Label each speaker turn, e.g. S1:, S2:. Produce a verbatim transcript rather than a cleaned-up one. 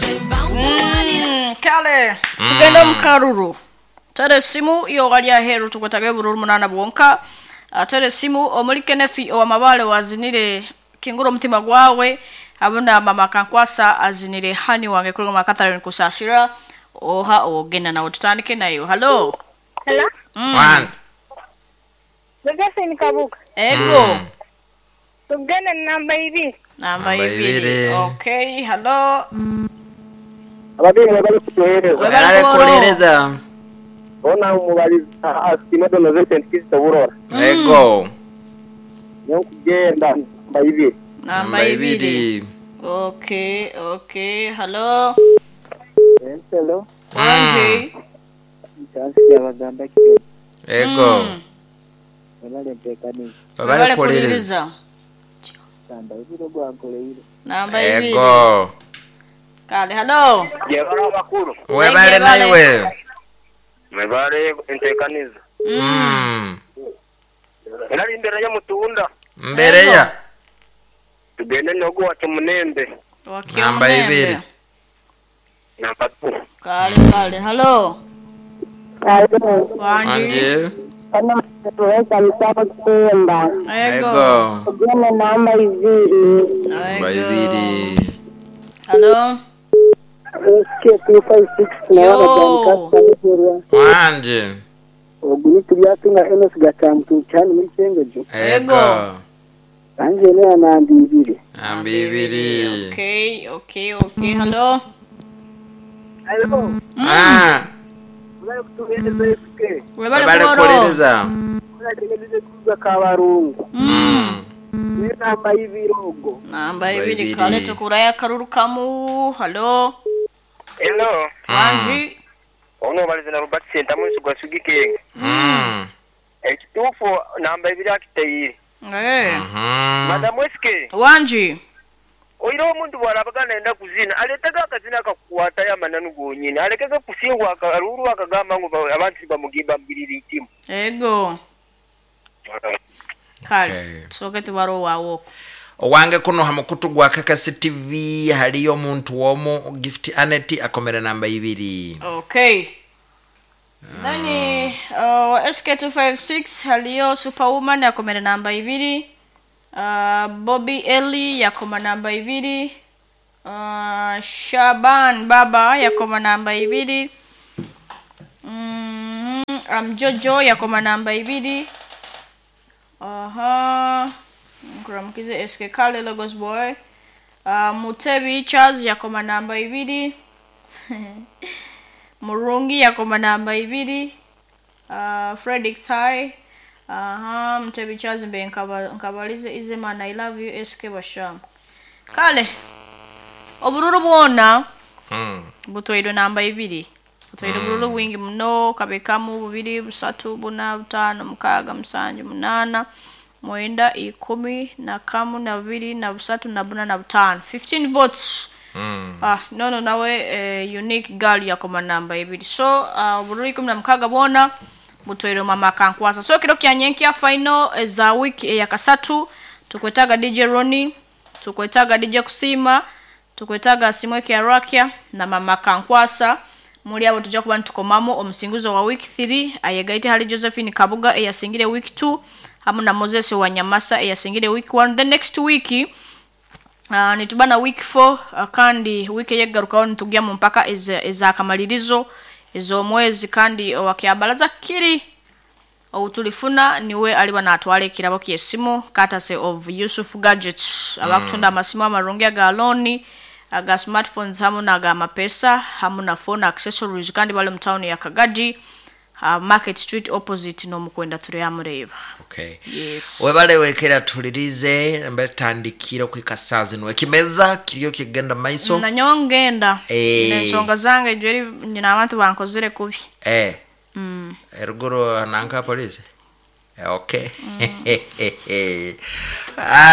S1: Mm, kale tugende omu karuru. Tere esimu iyo wali aheru, tukwetaga bururu munana bwonka. Ah, tere esimu omuli Kenneth owamabale wazinire kingura omutima gwawe, abuna mama Kankwasa azinire hani wange kuri mama Catherine Kusasira oha ogenda nawe tutandike nayo. Hello.
S2: Hello?
S1: Mm.
S3: One.
S2: Josephine Kabuga.
S1: Ego.
S3: Mm.
S2: Tugende namba ibiri.
S1: Namba
S3: Namba
S1: ibiri.
S3: ibiri.
S1: Okay, hello.
S4: Ababyeyi bari kutuhereza.
S1: Webale
S3: Webale
S1: kuhoro.
S3: kuhereza.
S4: Ona umubaliza asima donoze Saint Burora.
S3: Ego.
S4: Niyo kugenda namba ibiri.
S1: Namba ibiri. Okay, okay. Hello.
S4: Hello.
S1: Wanje.
S4: Chansi yabagamba kike.
S3: Ego.
S1: Mm.
S4: Webale ntekani.
S3: Webale kuhereza.
S4: Namba ibiri gwankoleire.
S1: Namba ibiri.
S3: Ego.
S1: Kale, hello.
S4: Jebala abakuru.
S3: Webale
S1: Webale.
S3: naiwe.
S4: Mwebale entekaniza.
S3: Mm.
S4: Era imbere ya mutunda.
S3: Mbere ya.
S4: Tugende nogo wacu munembe.
S1: Wakio
S3: Namba
S1: Munembe.
S3: ibiri.
S4: Namba two.
S1: Kale, kale. Hello.
S2: Hello.
S1: Wanje.
S3: Wanje.
S2: Kana tuweka msako kuimba.
S1: Ego.
S3: Ego.
S2: Tugende namba ibiri.
S3: Namba
S1: Ego.
S3: ibiri.
S1: Hello.
S4: S K two five six.
S1: Yo.
S3: Wanje.
S4: Oguni tubyatunga Enos Gatamtu cyane muri Cyengejo.
S3: Ego.
S4: Anje ne namba ibiri.
S3: Namba ibiri.
S1: Okay, okay, okay. Hello.
S4: Hello.
S3: Ah.
S4: Webale kutuhereza S K.
S1: Webale
S3: Webale
S1: kuhoro.
S3: kuhereza.
S4: Urategereje kuza kabarungu.
S1: Mm.
S4: Ni namba y'ibirogo.
S1: Namba
S3: Namba
S1: ibiri.
S3: ibiri.
S1: Kale tukuraya karuru kamu. Hello.
S4: Hello.
S1: Wanje.
S4: Ono balize na Robert Sentamu gwa Sugikenga.
S3: Mm.
S4: Ekituufu namba ibiri akiteyire.
S1: Eh.
S3: Mhm.
S4: Madamu S K.
S1: Wanje.
S4: Oire omuntu bwarabaga nenda kuzina aletaga akazina akakukwata yamananu gonyini alekege kusingwa akaruru akagamba ngu ba- abantu bamugimba mbirira itimu.
S1: Ego. Kale.
S3: Okay.
S1: Tusoke tubaro wawo.
S3: Owange kuno ha mukutu gwa Kakasi T V haliyo omuntu womu Gift Anet akomera namba ibiri.
S1: Okay. Then uh, S K two five six haliyo Superwoman yakomera namba ibiri. Uh, Bobby Ellie yakoma namba ibiri. Uh, Shaban Baba yakoma namba ibiri. Mm, Amjojo yakoma namba ibiri. Aha. Nkuramukize S K Kale Logos Boy. Uh, Mutebi Charles yakoma namba ibiri. Murungi yakoma namba ibiri. Uh, Fredrick Tai. Aha, Mutebi Charles mbe nkaba- nkabalize Izimana, I love you S K Basham. Kale. Obururu bwona
S3: Mm.
S1: butwairwe namba ibiri. Butwaire obururu bwingi muno, kabekamu bubiri, busatu, buna, butaano, mukaaga, musanju, munaana, mwenda, ikumi na kamu na bubiri na busatu na buna na butaano, fifteen votes.
S3: Mm.
S1: Ah, nono nawe eh, Unique Girl yakoma namba ibiri. So uh, obururu ikumi na mukaaga bwona butwaire mama Kankwasa. So kiro kya nyenkya final eza wiki eyakasatu tukwetaga D J Roni, tukwetaga D J Kusima, tukwetaga Simweke Arakia na mama Kankwasa. Muri abo tujja kuba nitukomamu omusinguzo wa week three ayegaite hali Josephine Kabuga eyasingire week two hamu na Moses Wanyamasa eyasingire week one. The next week Uh, nituba na week four, uh, kandi wiki eyeggarukaho nitugya mu mpaka eza- ezakamalirizo ez'omwezi, kandi owakyabalaza kiri outulifuna niwe aliba natwala ekirabo kyesimu courtesy of Yusuf Gadgets, abakutunda amasimu amarungi aga loan, aga smartphones hamu naga mapesa hamu na phone accessories, kandi bali mu town ya Kagadi, uh, Market Street, opposite n'omukwenda tureyamureba.
S3: Okay.
S1: Yes.
S3: Webale wekera tulirize mbatandikira kwika saa zino ekimeza kiriyo kigenda maiso.
S1: Nanyowe ngenda.
S3: Eh.
S1: Ensonga zange jweri nyina abantu bankozere kubi.
S3: Eh.
S1: mm.
S3: Eruguru nanka polisi. Eh, okay. Ah.